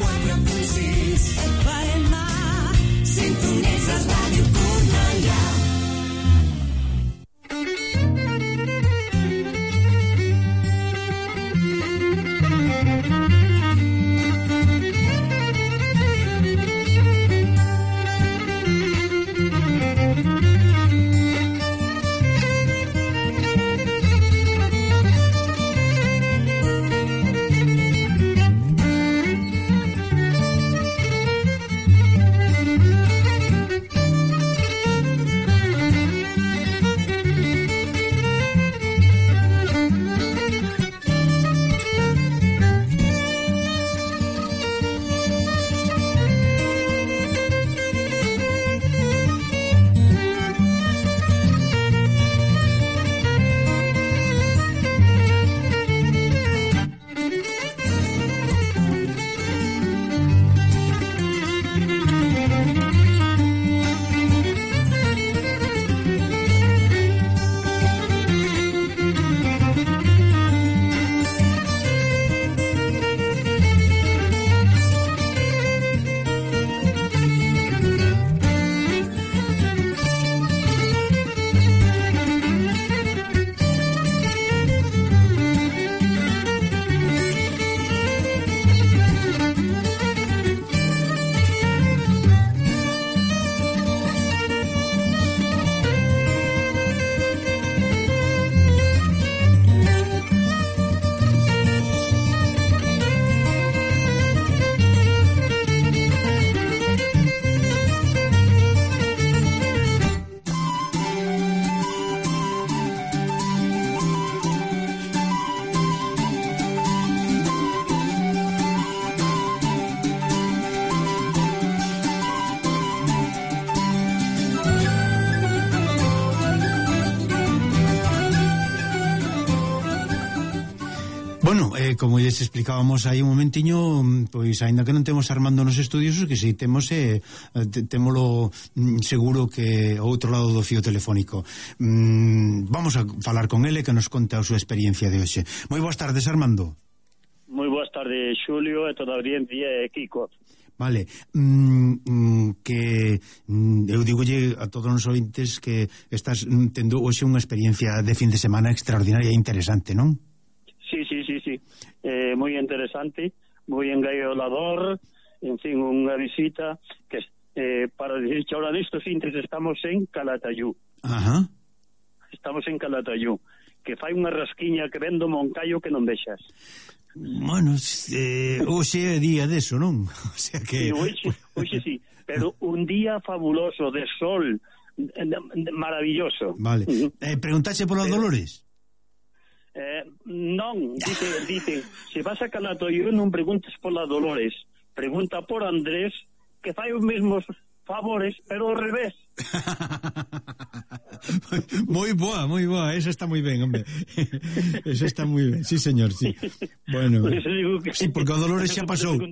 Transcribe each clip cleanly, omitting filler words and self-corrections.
104.6 FM, sintonitzes Ràdio Cornellà. Bueno, como lles explicábamos aí un momentiño, pois aínda que non temos Armando nos estudios, que si temos témolo seguro que ao outro lado do fío telefónico. Vamos a falar con ele que nos conte a súa experiencia de hoxe. Moi boas tardes, Armando. Moi boas tardes, Xulio, e toda a audiencia, e Kiko. Vale, que eu digolle a todos os ointes que estás tendo hoxe unha experiencia de fin de semana extraordinaria e interesante, non? Sí. Moi interesante, moi engaiolador, en fin, unha visita que para dicir que ahora nestes intres estamos en Calatayud. Ajá. Estamos en Calatayud, que fai unha rasquiña que vendo Moncayo que non vexas. Bueno, hoxe é día deso, non? O sea que... Sí, hoxe sí, pero un día fabuloso de sol, maravilloso. Vale. Preguntaxe polos Dolores? Non, dice, se vas a Calatayud non preguntes pola Dolores, pregunta por Andrés, que fai os mesmos favores, pero ao revés. Moi boa, esa está moi ben, hombre. Esa está moi ben, sí, señor, sí. Bueno, sí, porque o Dolores xa pasou.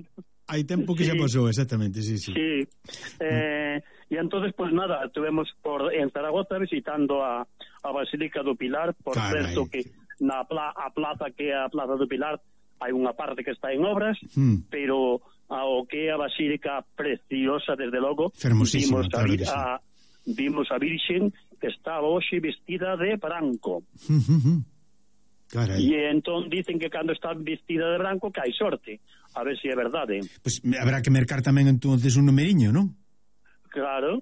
Hai tempo que xa pasou, exactamente, sí. Sí. E entonces, pues nada, estuvemos en Zaragoza visitando a Basílica do Pilar, por certo que na plaza que é a Plaza do Pilar hai unha parte que está en obras, pero ao que é a Basílica preciosa, desde logo. Fermosísima, claro que sí. Vimos a Virxen que estaba hoxe vestida de branco. Carai. E entón dicen que cando está vestida de branco que hai sorte, a ver se é verdade. Pues habrá que mercar tamén entonces un numeriño, non? Claro.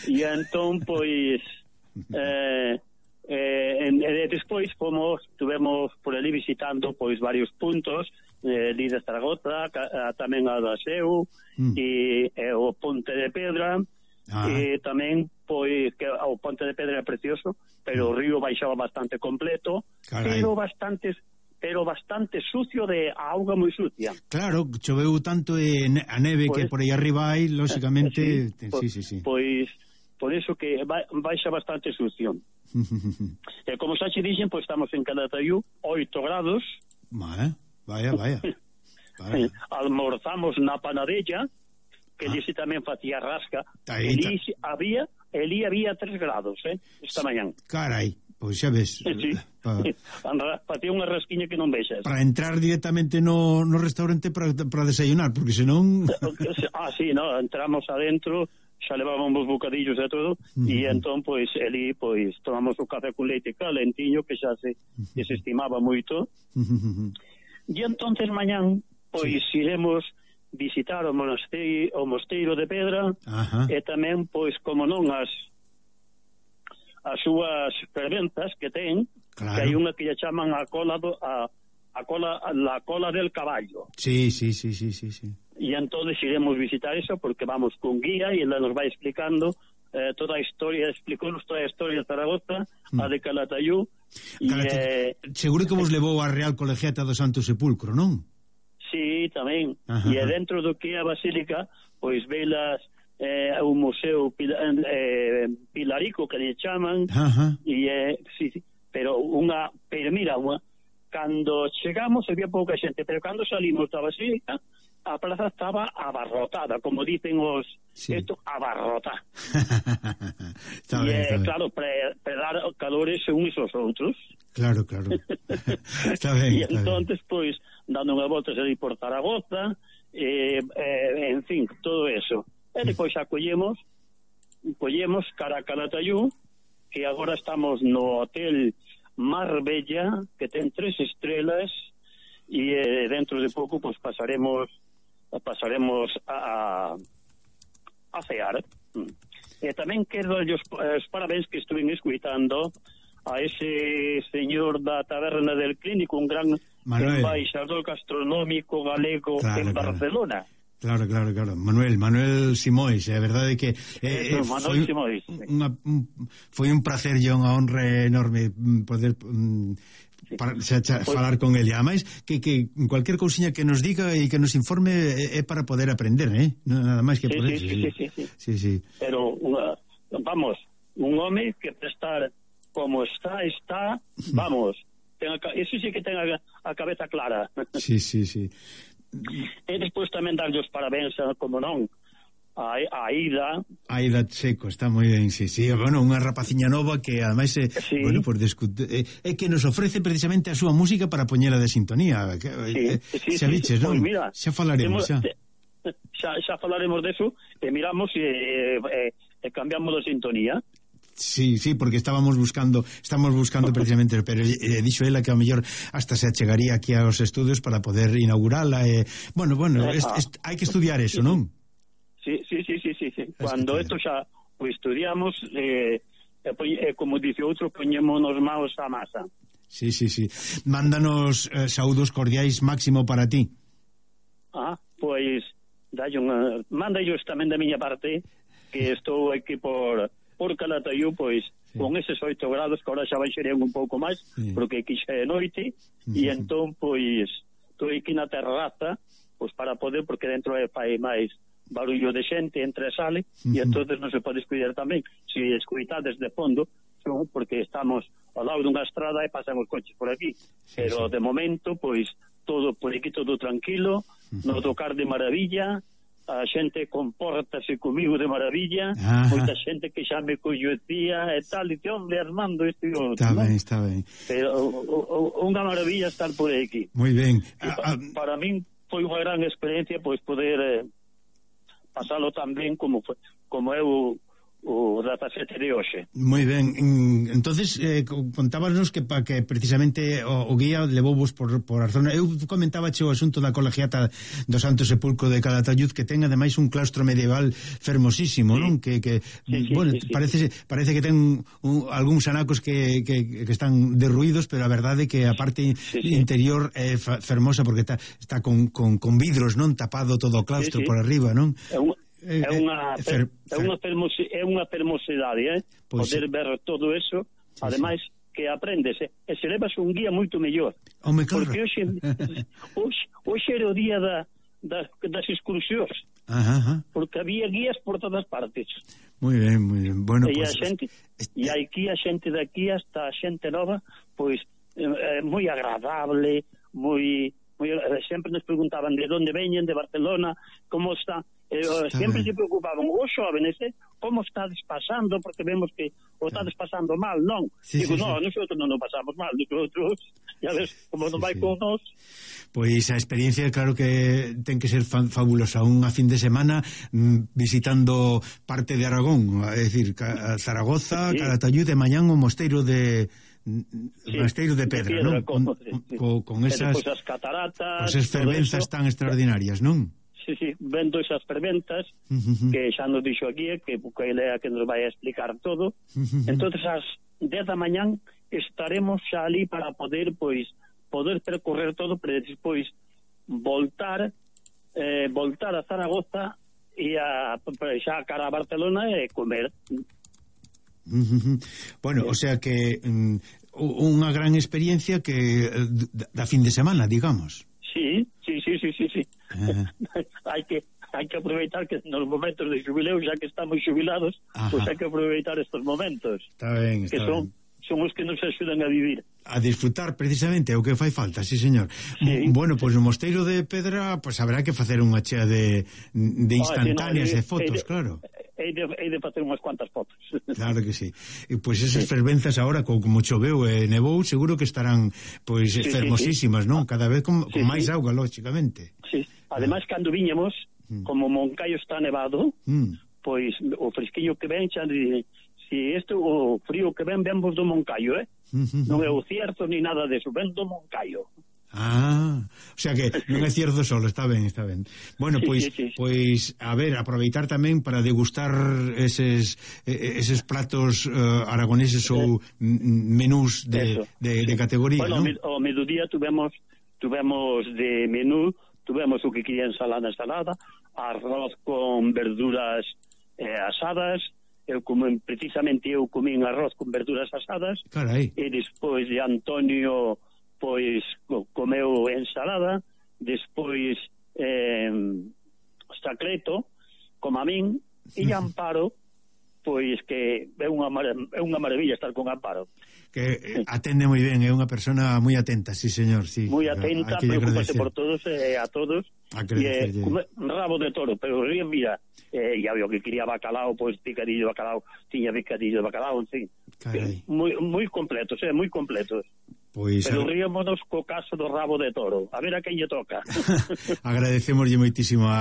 E entón, pois despois estuvemos por ali visitando pois varios puntos de Zaragoza, tamén a da Seu e o Ponte de Pedra, e tamén pois que o Ponte de Pedra é precioso, pero o río baixaba bastante completo. Carai. pero bastante sucio, de auga moi sucia. Claro, choveu tanto a neve pues, que por aí arriba hai, lóxicamente, sí. Pois por eso que baixa bastante sucio. E como xa che dixen, pois estamos en Calatayud, 8 grados. Vaya. Almorzamos na Panadella, que dice tamén facía rasca. Elí había 3 grados, esta mañán. Carai, Pois xa ves. Sí. Para ti unha rasquiña que non vexas. Para entrar directamente no restaurante para desayunar, porque senón... Sí, no, entramos adentro, xa levábamos bocadillos e todo, e entón, pois, ali, pois, tomamos o café con leite calentiño, que xa se estimaba moito, e entonces mañán, pois, iremos visitar o mosteiro de Pedra, e tamén, pois, como non, as súas ferventas que ten, claro. Que hai unha que lle chaman la cola del caballo. Sí. E entonces iremos visitar eso porque vamos con guía e ela nos vai explicando toda a historia, explicounos toda a historia de Zaragoza, a de Calatayud. Seguro que vos levou a Real Colegiata do Santo Sepulcro, non? Sí, tamén. E dentro do que é a Basílica, pois velas un museo pilarico que lle chaman, e sí, pero mira, cando chegamos había pouca xente, pero cando salimos da Basílica a plaza estaba abarrotada, como dicen os abarrotada. E claro, para dar calores uns aos outros. Claro. Está ben. E entonces, pois, dando unha volta ali por Zaragoza, en fin, todo eso. E depois xa collemos cara a Calatayud, que agora estamos no hotel Marbella, que ten 3 estrelas, e dentro de pouco pues pasaremos a cear. E tamén quero os parabéns que estuve escuitando a ese señor da taberna del Clínico, un gran embaixador gastronómico galego en Barcelona. Claro. Manuel Simóis, a verdade é que Manuel Simóis. Foi un placer e unha honra enorme poder falar con ele. Ademais, que cualquier cousiña que nos diga e que nos informe é para poder aprender, nada máis que por eso. Sí. Pero, vamos, un home que para estar como está, vamos, eso sí que ten a cabeza clara. Sí. E despois tamén darlle os parabéns, como non, a Aida Checo, está moi ben, sí, bueno, unha rapaciña nova que ademais bueno, por é que nos ofrece precisamente a súa música para poñela de sintonía. Xa viches, non? Mira, xa falaremos xa falaremos deso e miramos e cambiamos de sintonía. Sí, porque estamos buscando precisamente, pero dixo ela que a mellor hasta se achegaría aquí aos estudios para poder inaugurala. Bueno, hai que estudiar eso, non? Sí. Cuando isto xa o estudiamos, como dice outro, poñémonos maos a masa. Sí. Mándanos saúdos cordiais, Máximo, para ti. Pois manda ellos tamén da miña parte, que estou aquí por Calatayud, pois, con eses 8 grados, que ahora xa baixarán un pouco máis, porque aquí xa é noite, e entón, pois, estou aquí na terraza, pois, para poder, porque dentro fai máis barullo de xente, entre e sale, e entonces non se pode escuidar tamén. Se escuitades de fondo, porque estamos ao lado dunha estrada e pasan os coches por aquí, pero de momento, pois, todo por aquí, todo tranquilo, no tocar de maravilla, a xente compórtase comigo de maravilla, moita xente que xa me coñecía e tal, e hombre, Armando, isto e outro. Está ben. Pero unha maravilla estar por aquí. Moi ben. Para min foi unha gran experiencia pois poder pasalo tan ben como eu o 17 de hoxe. Moi ben, entonces contábanos que precisamente o guía levouvos por a zona. Eu comentaba o asunto da colegiata do Santo Sepulcro de Calatayud, que ten ademais un claustro medieval fermosísimo, non? Que bueno, parece que ten algúns anacos que están derruídos, pero a verdade é que a parte interior é fermosa, porque está con vidros, non? Tapado todo o claustro por arriba, non? É unha fermosidade, poder ver todo eso, ademais que aprendes e se levas un guía moito mellor, porque hoxe era o día das excursións, porque había guías por todas partes. Moi ben, bueno, e aquí a xente daqui hasta a xente nova, pois moi agradable, moi sempre nos preguntaban de onde veñen, de Barcelona, como está, sempre se preocupaban os xóvenes, como estades pasando, porque vemos que o estades pasando mal, non? Digo, nosotros non nos pasamos mal, nosotros, ya ves, como non vai con nós. Pois a experiencia, claro que ten que ser fabulosa, unha fin de semana visitando parte de Aragón, é dicir, Zaragoza, Calatayud, de mañán o Mosteiro de Mosteiro de Pedra, non? Con esas cataratas, esas fervenzas tan extraordinarias, non? Sí, vendo esas ferventas que xa nos dixo aquí, que ele é a que nos vai a explicar todo. Entonces ás 10 da mañán estaremos xa ali para poder percorrer todo, para despois voltar a Zaragoza e xa cara a Barcelona e comer. Bueno, o sea que unha gran experiencia que da fin de semana, digamos. Sí. Hai que aproveitar que nos momentos de xubileo, xa que estamos xubilados, pois hai que aproveitar estes momentos. Está ben, que son os que nos axudan a vivir. A disfrutar precisamente é o que fai falta, sí, señor. Sí. Bueno, pois no Mosteiro de Pedra, pois haberá que facer unha chea de instantáneas e fotos, claro. Hei de facer unhas cuantas fotos. Claro que sí. E pois esas fervenzas agora, como choveu e nevou, seguro que estarán pois fermosísimas, non? Cada vez con máis auga, lógicamente. Sí. Ademais, cando viñemos, como Moncaio está nevado, pois o fresquiño que ven xa si o frío que ven vos do Moncaio, non é o Cierzo ni nada deso, ven do Moncaio. O sea que non é Cierzo solo, está ben. Bueno, pois a ver, aproveitar tamén para degustar eses pratos aragoneses ou menús de categoría, bueno, non? Ao mediodía tuvemos de menú, tuvemos o que quería ensalada, arroz con verduras asadas. Precisamente eu comín arroz con verduras asadas. Carai. E despois de Antonio pois comeu ensalada, despois Sacreto como a min, e Amparo pois que é unha maravilla estar con Amparo, que atende moi ben, é unha persona moi atenta, sí señor, sí. Moi atenta, preocúpase por todos e a todos, e rabo de toro, pero mira, ya veo que quería bacalao, pois picadillo de bacalao, tiña picadillo de bacalao, en fin, moi completos, moi completos. Pois, pero ríamonos co caso do rabo de toro, a ver a quen lle toca. Agradecemoslle moitísimo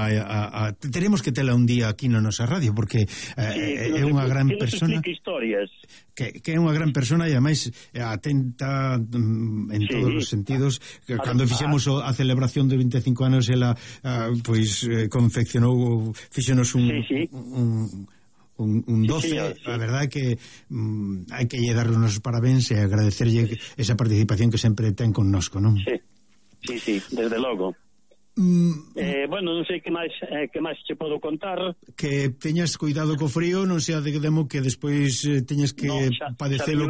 tenemos que tela un día aquí na nosa radio, porque é unha gran persona que é unha gran persona e ademais atenta en todos os sentidos. Cando fixemos a celebración de 25 anos, ela pois confeccionou, fixenos un 12, a verdade é que hai que lle dar os parabéns e agradecerlle esa participación que sempre ten connosco, non? Sí, desde logo. Bueno, non sei que máis che podo contar. Que teñas cuidado co frío, non sea de demo que despois teñas que padecelo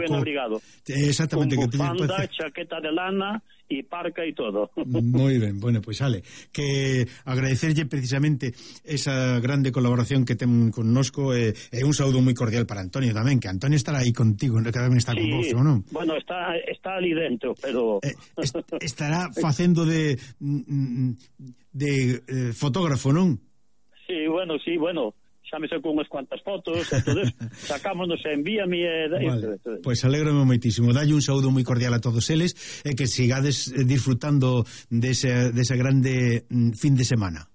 exactamente, con bufanda, chaqueta de lana e parca e todo. Moi ben, bueno, pois que agradecerlle precisamente esa grande colaboración que ten connosco e un saúdo moi cordial para Antonio tamén, que Antonio estará aí contigo, cada vez está con vos, non? Bueno, está ali dentro, pero estará facendo de fotógrafo, non? Sí, bueno, xa me sacou unhas cuantas fotos, entonces sacámonos, envíame Pois alégrame moitísimo, dalle un saúdo moi cordial a todos eles e que sigades disfrutando desa grande fin de semana.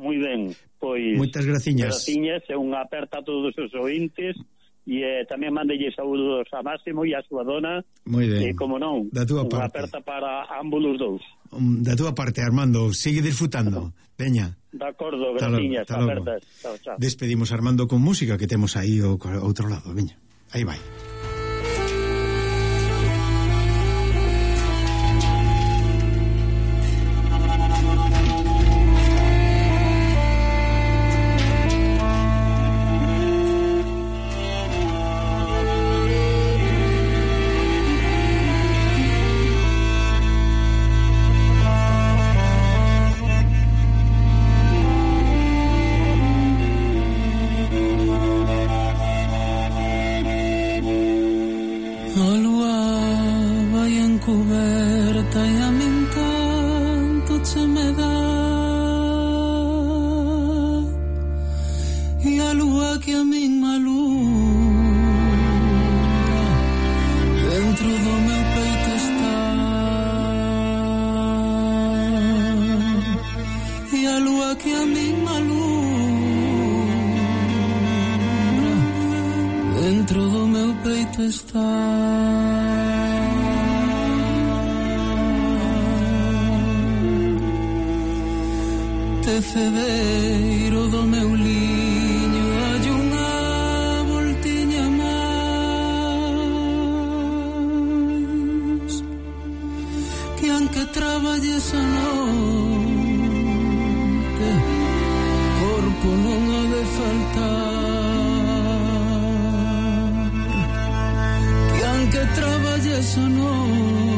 Moi ben, pois moitas graciñas e unha aperta a todos os ointes e tamén mandelle saúdos a Máximo e a súa dona. Moi ben. E como non, unha aperta para ambos os dous. Da túa parte, Armando, sigue disfrutando. Veña. De acordo, graciñas, apertas. Chao. Despedimos Armando con música que temos aí ao outro lado. Veña, aí vai. que a min malumbra dentro do meu peito está, e a lúa que a min malumbra dentro do meu peito está. Tecedeiro do meu liño, dalle unha voltiña máis, que aunque traballes a noite, corpo non ha de faltar, que aunque traballes a noite,